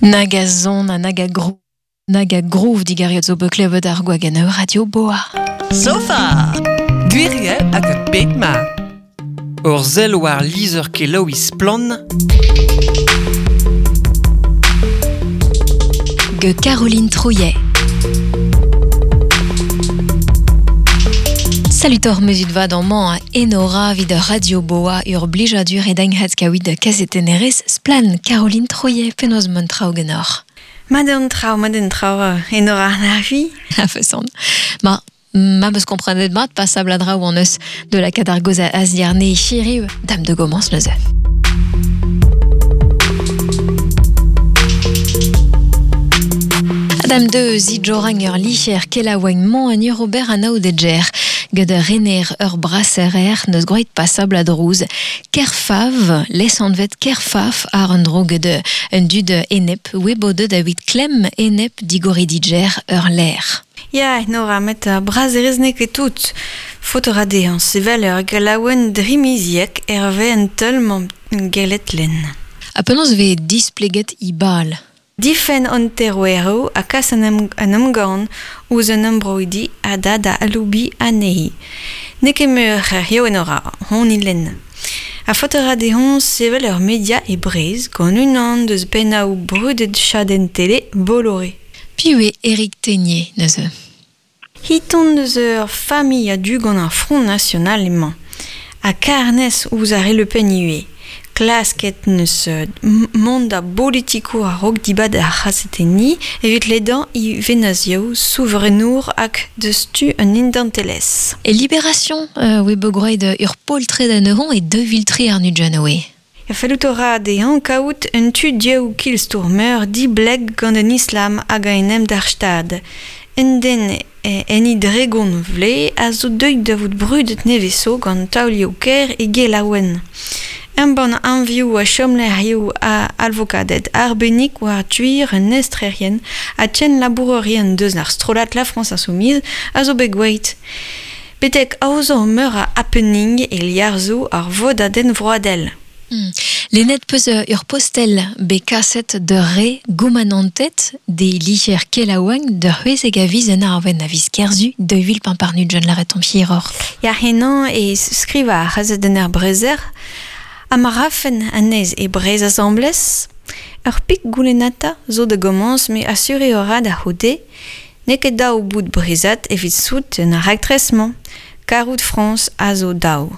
Nag a zon ha nag a gro nag a groove digariot zo bet klevet ar gwagenn Radio Boa. Sofa! Gwiriel hag ar bed-ma. Ur sell war lizher kelaouiñ Splann! Ge Caroline Trouillet. Salutor mezut vat amañ a Enora evit Radio Boa ur blijadur e dagnhat kaouit kazetennerez Splann! Caroline Trouillet, penaos mont traoù ganeoc'h? Mat eo an traoù, mat eo an traoù, Enora an avi. A-feson. Ma, ma 'meus komprenet mat pasabl a draoù hon eus de lakaat ar gaoz a-ziàrne hiriv dam da gomañs neuze. Adam de zidjorang ur licher kelaouenn-mañ en ur ober anaoudedjer gant ur rener ur braserer neus groet pasabl a drouz Kerfav, lesanvet Kerfaf àr un dro get un dud enep webodet evit klemm enep digoridiger ur lec'h. Ya, Nora, met ar braserez n'eo ket tout. Faot a ra dezhañ sevel ur gelaouenn drimiziek hervez an teul-mañ gellet lenn. Ha penaos e vez displeget he bal? Difenn an teroueroù ha kas an emgann ouzh an embroidi a da da aloubiñ anezhi. N'eo ket meur hiziv Enora, hon lenn. Ha faot a ra dezhañ sevel ur media e Breizh gant unan deus pennaoù brudet chadenn tele Bolloré. Piv eo Eric Thénier neuze? Hiton deus ur familh a-du gant ar Front National emañ. Ha kar-nes ouzh ar re Le Pen ivez. Klasket 'neus mont da bolitikour a-raok dibad ar c'hazetenniñ evit ledañ e vennozhioù souverenour hag deus tu an indantelezh. E Libération oe bet gwraet ur poltred anezhañ e 2003 àr Nugent oe. Fellout a ra dezhañ kaout un tu dioù kilstourmer dibleg gant an islam hag a-enep d'ar Stad. Un den en e dregont vloaz a zo deuet da vout brudet nevez zo gant taolioù-kaer e gelaouenn. Embann anvioù ha chomlec'hioù a alvokaded arbennik war gwir an estrerien ha kenlabourerien deus ar strollad La France Insoumise a zo bet gwelet. Betek aozañ meur a happening e liorzhoù ar vodadenn vroadel. Lennet 'peus ur postel bet kaset d'ur re goumanantet d'e lizher kelaouenn d'ur c'hwezek a viz en arvenn a viz Kerzu 2025 lâret omp hiroc'h. Ya henañ e skrivañ ar c'hazetenner Brezer ha ma rafen anezhe e Breizh asambles. Ur pik goulennata zo da gomañs met asuriñ a ra da c'houde n'eo ket dav bout breizhat evit souten ar raktres-mañ. Karout Frañs a zo dav.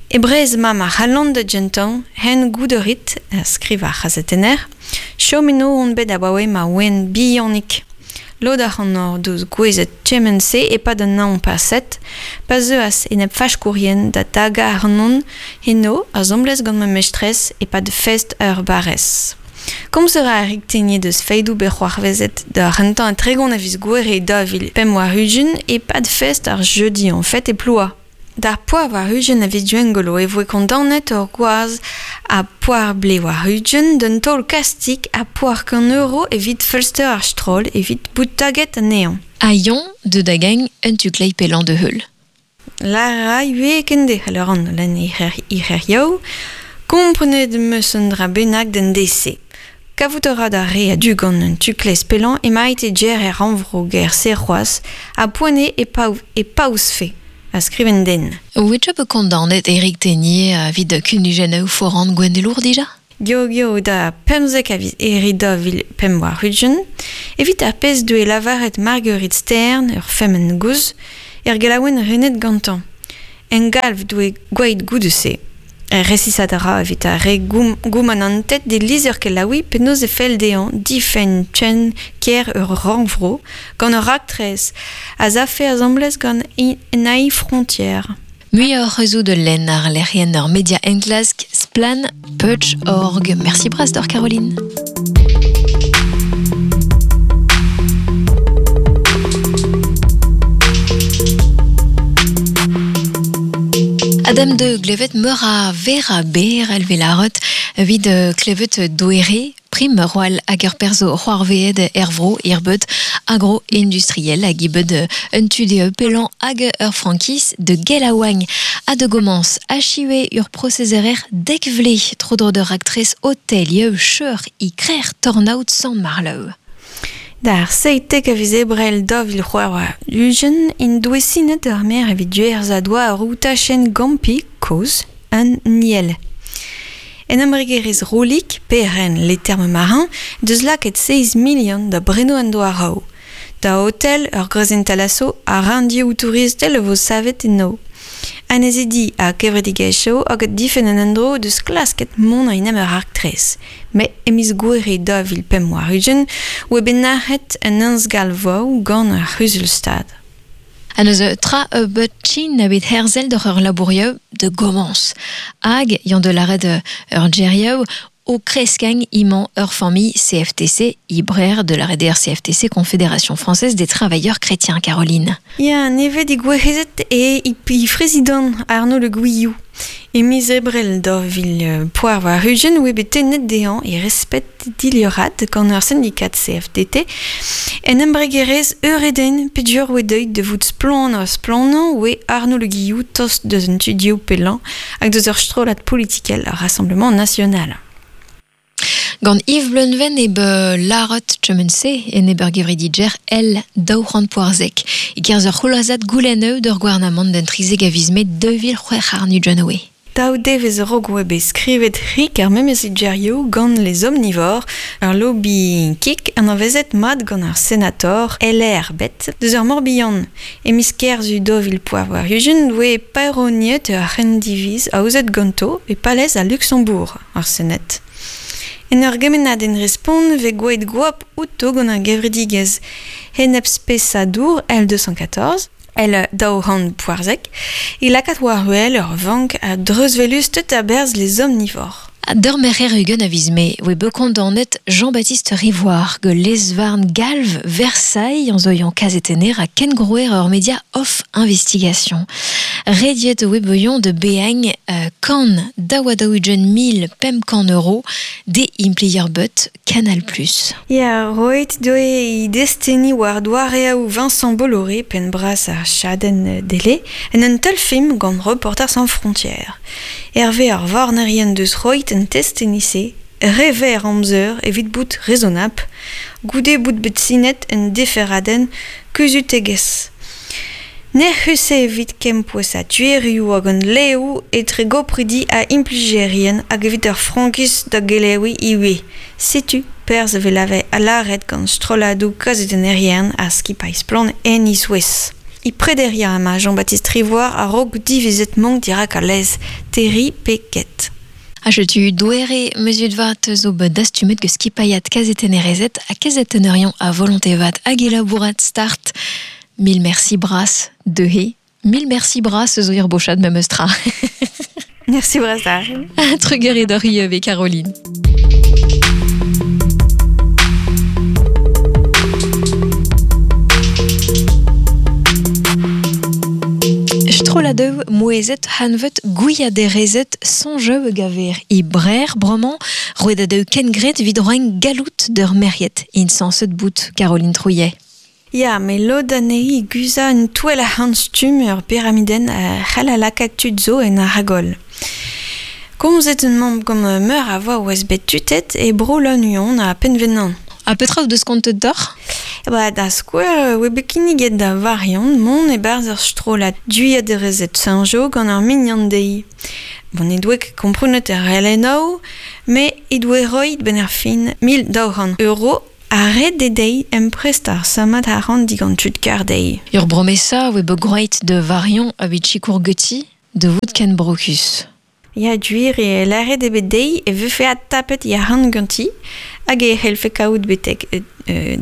E Breizh emañ ma c'halon da gentañ, hen goût a rit, a skriv ar c'hazetenner. Chom eno on bet abaoe ma oan bihanik. Lod ac'hanoc'h deus gouezet kement-se e-pad an hañv paset, pa zeuas enep-faskourien da dagañ ac'hanon eno asambles gant ma mestrez e-pad fest ur barrez. Komz a ra Eric Thénier deus fedoù bet c'hoarvezet d'ar c'hentañ 30 a viz Gouhere 2025 e-pad fest ar jeudi en fait e Plouha. D'ar poar war-ugent a viz Gwengolo e voe kondaonet ur gwaz ha poar blev war-ugent d'un taol kastig ha poar kant euro evit feulster ar stroll evit bout taget anezhañ. Ha Yon deu da gain un tu kleiz pellañ da heul. Lâr a ra ivez kenderc'hel a ran lenn e c'herioù. Komprenet 'm eus un dra bennak d'an deiz-se. Kavout a ra d'ar re a-du gant un tu-kleiz pellañ emaint e gêr er rannvro gêr-se c'hoazh ha poent eo e paouzfe, a skriv un den. Oa bet kondaonet Eric Thénier evit kunujennoù foran gouennelour dija? Geo da 15 a viz Here 2025 evit ar pezh doe lavaret Marguerite Stern, ur femmen gozh, er gelaouenn renet gantañ. Engalv doe gwelet goude-se. Resisat a ra evit ar re goumanantet d'e lizher-kelaouiñ penaos e fell dezhañ difenn ken kêr ur rannvro gant ur raktres a z'afe asambles gant Ennaï Frontière. Muioc'h eus out lenn ar lec'hienn ur media enklask Splann Pudge.org. Merci bras deoc'h Caroline. Adam de glevet meur a vera ber el velaret Vid klevet doere, prim roal hag ur perzo c'hoarveet ervro irbet agro-industriel hag ibet un tude pelan hag ur frankiz de gelaouagn a de gomans achiwe ur prosezerer dekvle tro d'ur actrice hotel yeu cheur i krer tornaout san marleu. D'ar seitek a viz ebrel da vil c'hoar war ugen in doe sinet ar mer evit duerz a doa ar routachen gampi koz an niel. En embregerez rolik, PRN les termes marins, deus lakaet 6 million da breno an doa raou. Da hotel ur grezen talasso a randioù touristel vo savet eno. An ez di a kevredigezhioù hag difen an endro deus klasket mont an ur arktrez. Me emiz gouere da vil pemp war ugen, oe bet nac'het an ansgal voou gant ar c'huzul-stad. An eus tra bet chin a bet herzel d'ur ur labourieu de gomans. Hag, yan de l'arrêt ur djerieu, o kreskang iman ur famille CFTC, ibrer de la RDR CFTC, Confédération Française des Travailleurs Chrétiens, Caroline. Ya, neve di gwerezet e i président Arnaud Le Guillou. E miz ebrel da vil poar war ugen oe bet tennet dezhañ e respet diliorat gant ur syndikat CFDT en embregerez eureden pedur oe deuet de vout splan ar splanañ oe Arnaud Le Guillou tost deus un tudio pelan hag deus ur strollad politikel ar Rassemblement National. Gant Yves Bleunven e be larot chemense en eber gevredidjer el daouc'hant poarzek. E kerzh ur c'houlazad goulenn d'ur gouarnamant d'en trizeg a viz met 2006 ar nu oe. Daou devez rog oe bet skrivet rik ar memez djerioù gant les omnivores, ur lobby kik an avezet mat gant ar senator LR bet deus ur Morbihan. E miz kerzh dovil poar war ugen oe paeroniet ur c'hendiviz aozet ganto e palez a Luxembourg, ar senet. En ur gemennad en respont ve gwaet gwap outo gant ar gevredigez henep spesadour L214, L daouhant poarzek, e lakaat war wel ur vank a dreuzvelustet a-berzh les omnivores. D'ur merc'her ugen a viz me, oe bet kondaonet Jean-Baptiste Rivoire ge lezvarn galv Versailles an zoion kazetener a ken grouer ur media off investigation. Rediet oe beuion de beagn kan daouadaougen mil pemp kan euro de implier but Canal+. Ya, roet doe i desteni war doareaou Vincent Bolloré pen bras ar chadenn dele en un tel film gant Reporters sans frontières. Hervé ar varnerien deus roit en testenise, rever amzer evit bout raisonnable, goude bout bet sinet en deferaden kuzutegez. Nec'hus evit kempouez a tuerioù hag an leoù etre gopridi a implijerien hag evit ur frankiz da gelewi iwe. Setu perz velave a laret gant strolladoù kazetennerien a skipaiz splann en isouez. I prederia ama Jean-Baptiste Rivoire a rog divizet mank dirak a lez Terry Peket. Ha tu doere mesut vat zo bet dastumet ge skipaiat kazetennerezet a kazetennerion a volonté vat hag elabourat start. Mille merci bras de he. Mille merci bras zo ir bochad me meustra. Merci bras da. Trugarez d'ur Caroline. Strolladeù mouezet hanvet gouiaderezet sonjeu gaver i brer bremañ roet kengret vid roen galout d'ur meriet insanset bout Caroline Trouillet. Ya, me lod anezhi guza un touell a stum ur pyramiden a c'hell a lakaat tud zo en ar hagol. Komzet un mamm gant meur a voa oez bet tutet e bro lan a penvenan. A petra deus kontet d'or? Ba, da skouer, oe bet kinniget da variant mont e barz ur strollad duiaderezet Saint-Jo gant ar mignon dezhi. Bon, e doe komprenet ar LNO, me e doe roit ben ar fin 1200 euro a red de dei emprest ar samat ar ran digant tud kar dei. Ur bromesa oe bet groeit de variant a bet chikour geti de vout ken brokus. Ya duir e laret e bet dei e vefe at tapet ya ran ganti hag e c'hellfe kaout betek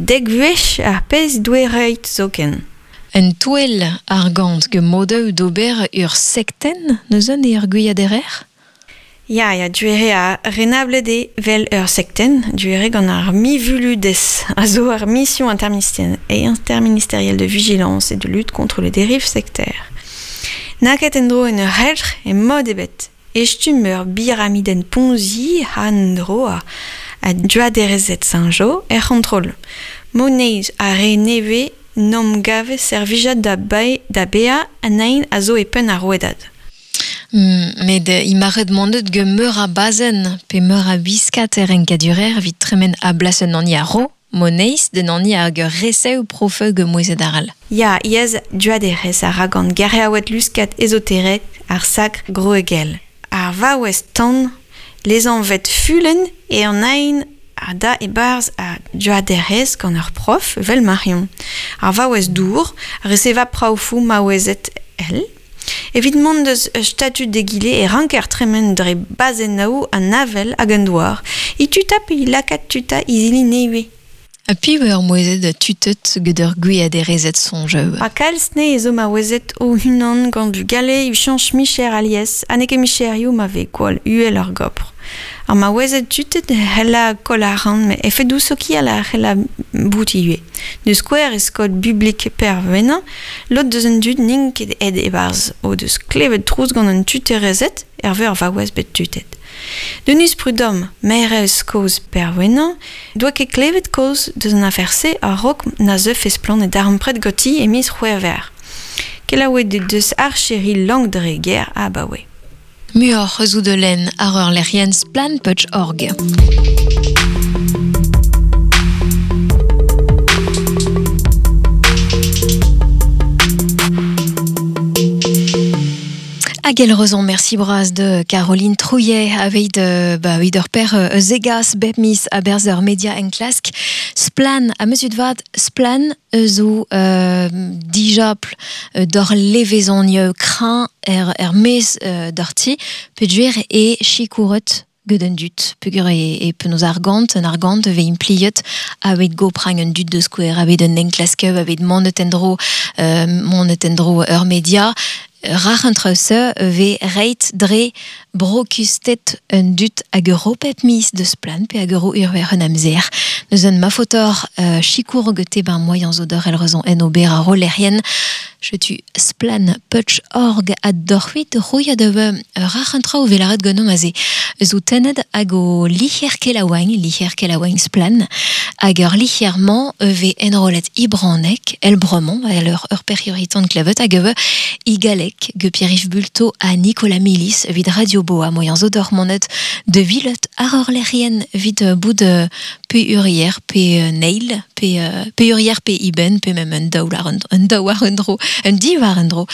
dek vuech ar pezh doe roit zoken. En touell ar gant ge modeu d'ober ur sekten neuzen e ur gwiaderer? Ya, ya, duere a renable de vel ur sekten, duere gant ar mivuludes, a zo ar mission interministérielle de vigilance et de lutte contre les dérives sectaires. Naket en dro en ur helc'h e mod ebet. Estum ur biramiden Ponzi han dro a duaderezet Saint-Jo er c'hontrol. Moneiz a re neve nom gave servijad da, bae, da bea an ein a zo e penn ar rouedad. Met imaret mondet ge meur a bazen pe meur a biskat er enkadurer evit tremen a blasen an a ro moneiz den an hag ur resev profeu ge mouezet aral. Ya, iez duaderez a ra gant gareaouet luskat ezoterek ar sakr groegel. Ar vaouez tan lezanvet fulen e an ein a da e-barz a duaderez gant ur prof vel Marion. Ar vaouez dour a reseva praoufou maouezet el. Evit mont deus statut d'egile e ranker tremen dre bazennaou an avel hag an douar. I tuta pe i lakat tuta izili neue. A piv ur mouezet tutet gant ur gwiaderezet sonjeu. A kalz ne ezo maouezet o hunan gant bugale u chanch micher alies, ha n'eo ket micherioù ma vez gwall uhel ar gopr. Ar maouezet tutet c'hella koll arc'hant, met efedoù sokial a c'hella bout ivez. Deus skouer e skol publik pervenañ, lod deus an dud n'int ket aet e-barzh o deus klevet trouz gant an tuterezed hervez ar vaouez bet tutet. Denis Prudhomme, maerez kozh Perwenañ, doa ket klevet kaoz deus an afer-se a-raok na zeufe splann e darempred ganti e miz C'hwevrer. Kelaouet he deus archeri Langdreger abaoe. Muioc'h eus out lenn ar ur lec'hienn splann.org. Hag el rezon merci bras de Caroline Trouillet aveit ba evit ur per zegas bep mis a berz ur media en klask splan a meus vat splan zo dijapl d'or levezon kran er mez d'orti peduer e chikouret gant an dud peogwir e penaos argant un argant ve impliet aveit goprang un dud de skouer aveit un enklasker aveit monet en-dro ur media Rac'h an traoù-se ve reit dre brokustet un dud hag ur pep mis deus plan pe hag ur urver un amzer. Neus un mafotor chikour gete ben moyen zo d'or el rezon en ober a rolerien. Chetu splan.org a dorhuit rouia de rac'h an traoù velaret ganom aze. Zo tennet hag o licher kelaouagn splan, hag ur licherman ve enrolet ibranek, el bremon, el ur perioritant klevet hag eve i galek ge Pierre-Yves Bulto a Nicolas Milis vid Radio Boa moyen zo d'or monet de villet ar ur lerien vid bout pe urier pe neil pe urier pe iben pe mem un daou un daou war un dro un di war un dro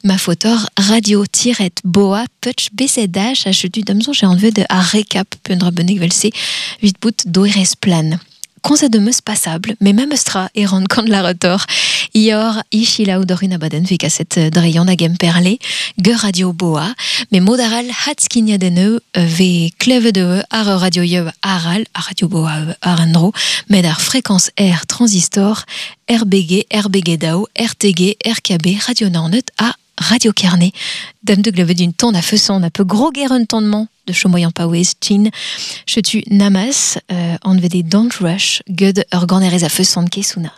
ma fotor radio-boa puch bcdh a chetu damzon j'ai envie de a recap pe un dra bennek vel-se vid bout doerez plan. Konzet de meus passable, mais même stra e rand kant la retor. Ior ichila ou dorin abaden ve kaset dreion hag emperle, ge radio boa, mais modaral hatskinia deneu ve kleve de ar radio yeu aral, ar radio boa ar endro, met ar fréquence R transistor, RBG, RBG DAO, RTG, RKB, Radio Naoned a Radio Carnet. Dame de gleve d'une ton a feuson, a peu gros guerre un tondement de chomoyan paouez, chin, chetu namas, en vede don't rush, gud ur ganerez a feuson kesuna.